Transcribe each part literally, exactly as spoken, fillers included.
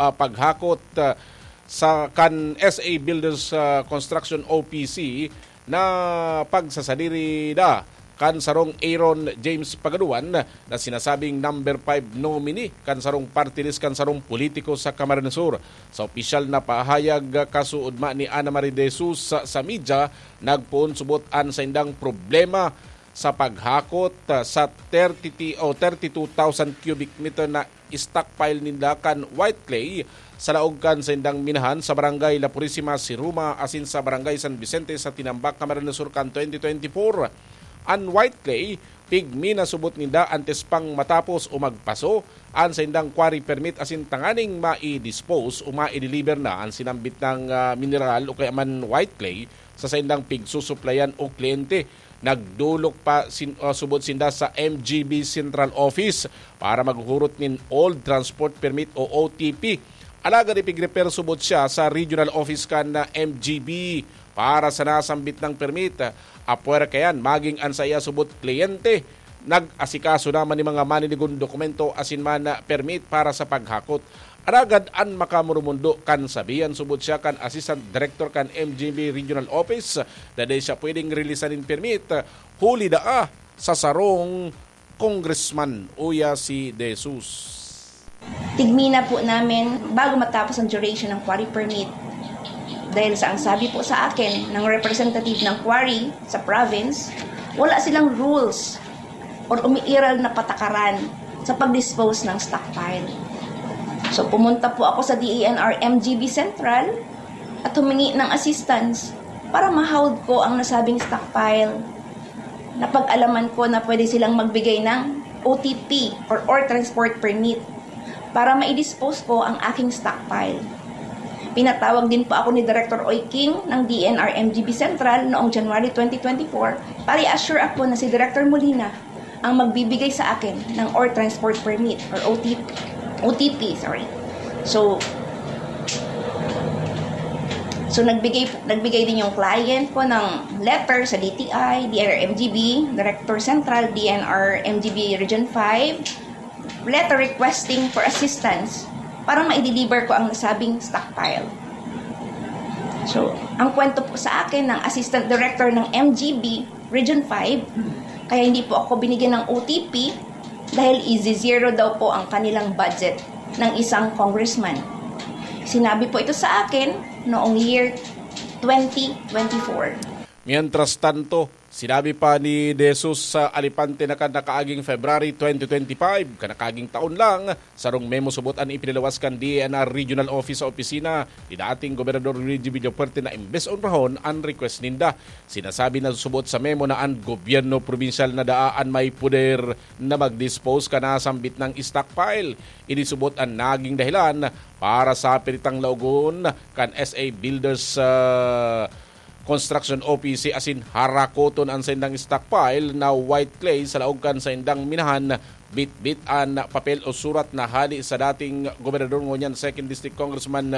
ah, paghakot, ah, sa kan S A Builders, ah, Construction O P C na pagsasadiri da kan sarong Aaron James Pagaduan na sinasabing number five nominee kan sarong party list kan sarong politiko sa Camarines Sur. Sa opisyal na pahayag, kasuodma ni Ana Marie De Jesus sa, sa media, nagpoon subot an saindang problema sa paghakot, ah, sa thirty ti-, o thirty-two thousand cubic meter na stockpile ninda kan white clay sa laog kan saindang minahan sa Barangay La Purisima, Siruma, asin sa Barangay San Vicente sa Tinambac, Camarines Sur kan twenty twenty-four. An white clay, pigmi na subot ninda antes pang matapos o magpaso an saindang quarry permit asin tanganing mai-dispose o mai-deliver na an sinambit na, ah, mineral o kaya man white clay sa saindang pigsusuplayan o kliyente. Nagdolok pa sin-, ah, subot sinda sa M G B Central Office para maghurot nin Old Transport Permit o O T P. Alagad ipigrefer subot siya sa regional office kan na M G B para sa nasambit na permit. Apwera kayan, maging an saiya subot kliyente, nag-asikaso naman nin mga maninigon dokumento asin man na permit para sa paghakot. Alagad an makamurumundo kan sabihan subot siya kan Assistant Director kan M G B Regional Office na dai siya pwedeng releasan nin permit, huli daa sa sarong congressman, uya si De Jesus. Tigmina po namin bago matapos ang duration ng quarry permit. Dahil sa ang sabi po sa akin ng representative ng quarry sa province, wala silang rules or umiiral na patakaran sa pag-dispose ng stockpile. So pumunta po ako sa D E N R M G B Central at humingi ng assistance para ma-hold ko ang nasabing stockpile. Napag-alaman ko na pwede silang magbigay ng O T P or Ore Transport Permit para ma-dispose ko ang aking stockpile. Pinatawag din po ako ni Director Oy King ng D N R M G B Central noong January twenty twenty-four para i-assure ako na si Director Molina ang magbibigay sa akin ng Ore Transport Permit or O T P, O T P, sorry. So, so nagbigay nagbigay din yung client ko ng letter sa D T I, D N R M G B, Director Central, D N R M G B Region five, letter requesting for assistance para ma-deliver ko ang nasabing stockpile. So, ang kwento po sa akin ng Assistant Director ng M G B Region five, kaya hindi po ako binigyan ng O T P dahil i-zero daw po ang kanilang budget ng isang congressman. Sinabi po ito sa akin noong year twenty twenty-four. Mientras tanto, sinabi pa ni De Jesus sa Alipante na kan nakaaging February twenty twenty-five, kan nakaaging taon lang, sarong memo subot an ipinalawas kan D E N R Regional Office sa opisina ni dating Gobernador Luigi Villafuerte na imbes onrahon an request ninda. Sinasabi na subot sa memo na an gobyerno probinsyal na daa an may poder na mag-dispose kan nasambit na stockpile. Ini subot an naging dahilan para sa piritang laogon kan S A Builders, ah, Construction O P C asin harakoton an saindang stockpile na white clay sa laog kan saindang minahan. Bitbit an papel o surat na hali sa dating gobernador ngunyan Second District Congressman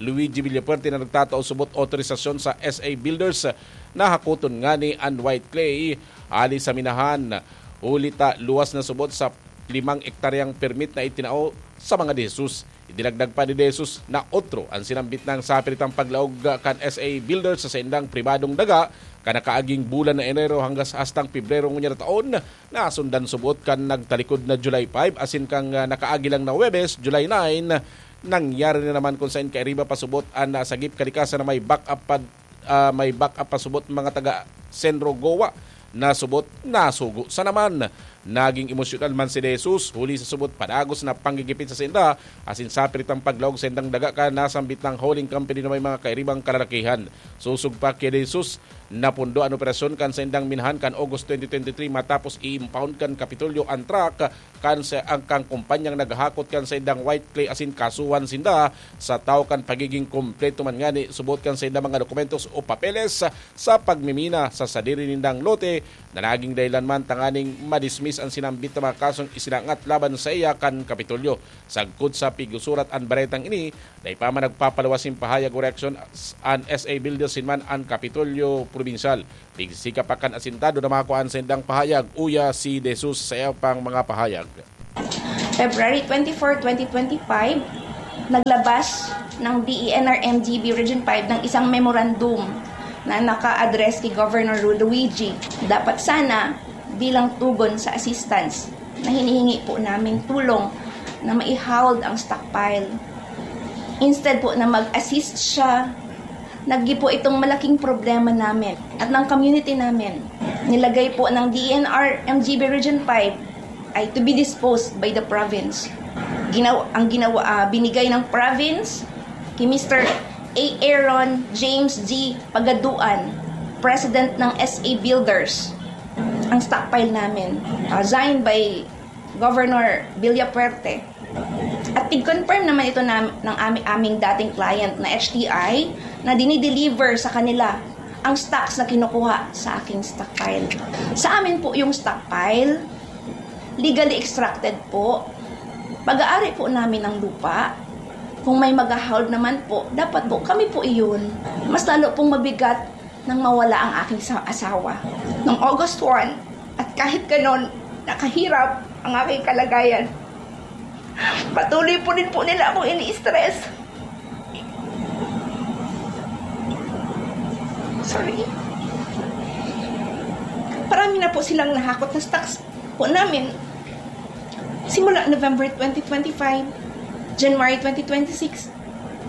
Luigi Villafuerte na nagtatao subot otorisasyon sa S A Builders na hakoton ngani an white clay hali sa minahan. Huli ta luwas na subot sa limang ektaryang permit na itinao sa mga De Jesus. Idinagdag pa ni De Jesus na otro an sinambit na sapiritang paglaog kan S A Builders sa saindang pribadong daga kan nakaaging bulan na Enero hanggang sa hastang Pebrero ngunyan na taon, nasundan subot kan nagtalikod na July five asin kan, ah, nakaagi lang na Huwebes, July nine, nangyari na naman kung sain kairiba pa subot an nasagip kalikasan na may back-up pa, ah, may back-up pa subot mga taga Senro Goa na subot nasugo sa naman. Naging emosyonal man si De Jesus huli sa subot padagos na panggigipit sa sainda asin sapiritang paglaog saindang daga kan nasambit na howling company na may mga kairibang kalalakihan. Sosog pa ki De Jesus, napundo an operasyon kan saindang minahan kan August twenty twenty-three matapos i-impound kan Kapitolyo an truck kan sa ang kan kumpanyang naghahakot kan saindang white clay asin kasuhan sinda sa tawo kan pagiging kompleto man ngani subot kan saindang mga dokumentos o papeles sa pagmimina sa sadiri nindang lote na naging dahilan man tanganing madismiss an sinambit na mga kasong isinangat laban saiya kan Kapitolyo. Sagkod sa pigsusurat an baretang ini, dai pa man nagpapaluwas nin pahayag o reaksyon an S A Builders asin man an Kapitolyo Probinsyal. Pigsisikap pa kan asintado na makua an saindang pahayag, uya si De Jesus sa iya pang mga pahayag. February twenty-four, twenty twenty-five, Naglabas ng D E N R M G B Region five ng isang memorandum na naka-address kay Governor Rod Luigi. Dapat sana bilang tugon sa assistance na hinihingi po namin tulong na mai-hauled ang stockpile. Instead po na mag-assist siya, naging po itong malaking problema namin at ng community namin. Nilagay po ng D E N R M G B Region five ay to be disposed by the province. Ginaw ang ginawa ah, binigay ng province kay Mister A. Aaron James G. Pagaduan, President ng S A Builders, ang stockpile namin, ah, signed by Governor Villafuerte. At tig-confirm naman ito na, ng ami, aming dating client na H T I na dinideliver sa kanila ang stocks na kinukuha sa aking stockpile. Sa amin po yung stockpile, legally extracted po. Pag-aari po namin ng lupa, kung may mag-hold naman po, dapat po kami po iyon. Mas lalo pong mabigat nang mawala ang aking sa asawa. Noong August one, at kahit ganon, nakahirap ang aking kalagayan. Patuloy po din po nila akong ini-stress. Sorry. Marami na po silang nahakot na stocks po namin. Simula November twenty twenty-five, January twenty twenty-six,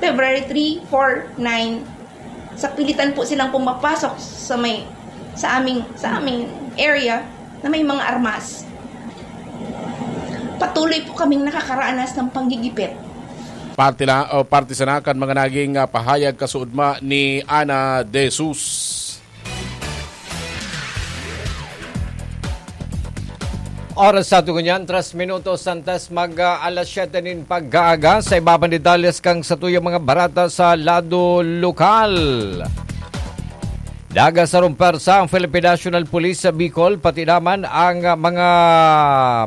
February three, four, nine, sa pilitan po silang pumapasok sa may, sa aming, sa aming area na may mga armas. Patuloy po kaming nakakaranas ng panggigipit. Parte na o parte sana kan mga naging ah, pahayag kasuodma ni Ana De Jesus. Oras sa ato ngunyan, tres minutos antes mag ah, alas siyete nin pag-aaga. Sa iba pang detalles kang satuyang mga barata sa lado lokal. Nagasarong pwersa ang Philippine National Police sa Bicol, pati naman ang ah, mga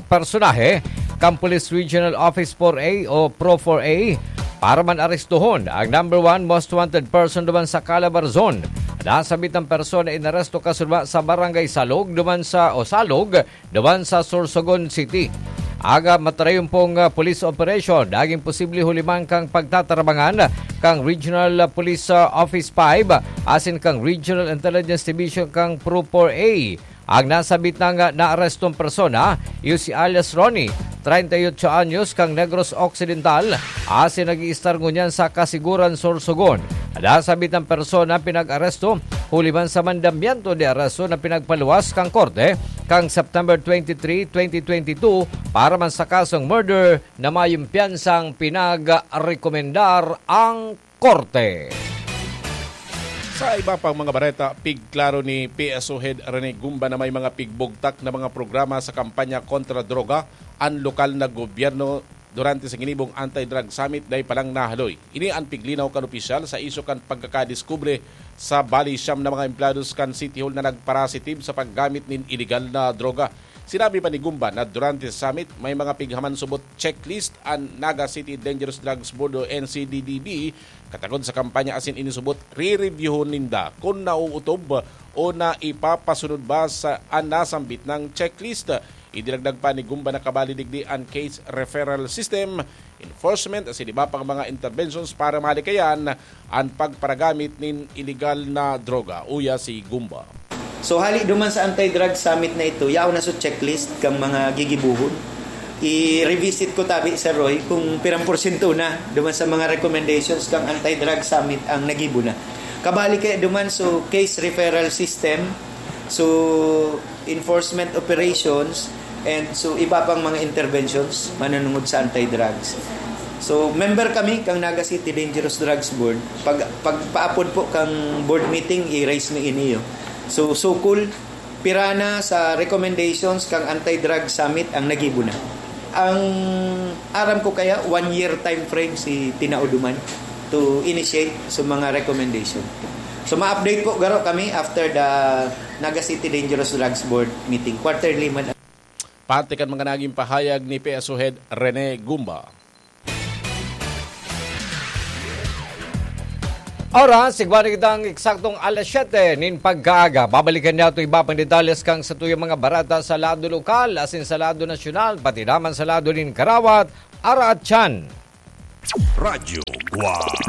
personahe kan Police Regional Office four A o Pro four A para man arestuhon ang number one most wanted person duman sa Calabarzon. Nasabit ang persona inaresto kasunod sa Barangay Salog duman sa o Salog duman sa Sorsogon City. Aga matarayon pong ah, police operation, naging posible huli man kang pagtatarabangan kang Regional ah, Police ah, Office five asin kang Regional Intelligence Division kang Pro four A. Ang nasabit nang ah, naarestong persona, iyo si alias Ronnie, treinta y ocho anyos, kang Negros Occidental, asin nag-iistar ngunyan sa Kasiguran, Sorsogon. Nasabit ang persona pinag-aresto huli man sa mandamiento de aresto na pinagpaluwas kang korte kang September twenty-three, twenty twenty-two para man sa kasong murder na mayong piyansang pinagrekomendar ang korte. Sa iba pang mga bareta, pigklaro ni P S O Head Rene Gumba na may mga pigbugtak na mga programa sa kampanya kontra droga an lokal na gobyerno durante sa ginibong Anti-Drug Summit dai pa lang nahaloy. Ini an piglinaw kan opisyal sa isyu kan pagkakadiskubre sa bali siyam na mga empleyados kan City Hall na nagparasitive sa paggamit nin iligal na droga. Sinabi pa ni Gumba na durante sa summit, may mga pighaman subot checklist an Naga City Dangerous Drugs Board o N C D D B, katagod sa kampanya asin inisubot, re-reviewhon ninda kun nauutob o na ipapasunod ba sa an nasambit nang checklist. Idinagdag pa ni Gumba na kabali digdi an case referral system, enforcement asin iba pang mga interventions para malikayan an pagparagamit nin iligal na droga. Uya si Gumba. So hali duman sa anti-drug summit na ito, yaon na sa checklist kang mga gigibuhon. I-revisit ko tabi, Sir Roy, kung pirang porsyento na duman sa mga recommendations kang anti-drug summit ang nagibo na. Kabali kaya duman so case referral system, so enforcement operations, and so iba pang mga interventions manunungod sa anti-drugs. So member kami kang Naga City Dangerous Drugs Board. Pag pagpaapod po kang board meeting, i-raise mi iniyo. So sukol pira na sa recommendations kang anti-drug summit ang nagibo na. Ang aram ko kaya one year time frame si tinao duman to initiate sa mga recommendation. So ma-update po garo kami after the Naga City Dangerous Drugs Board meeting, quarterly man. Parte kan mga naging pahayag ni P S O Head Rene Gumba. Oras, igwa na kitang eksaktong alas siyete nin pagkaaga. Babalikan niya ito iba pang detalles kang sa tuyang mga barata sa lado lokal, asin sa lado nasyonal, pati naman sa lado nin karawat, ara at tiyan. Radyo Guwang.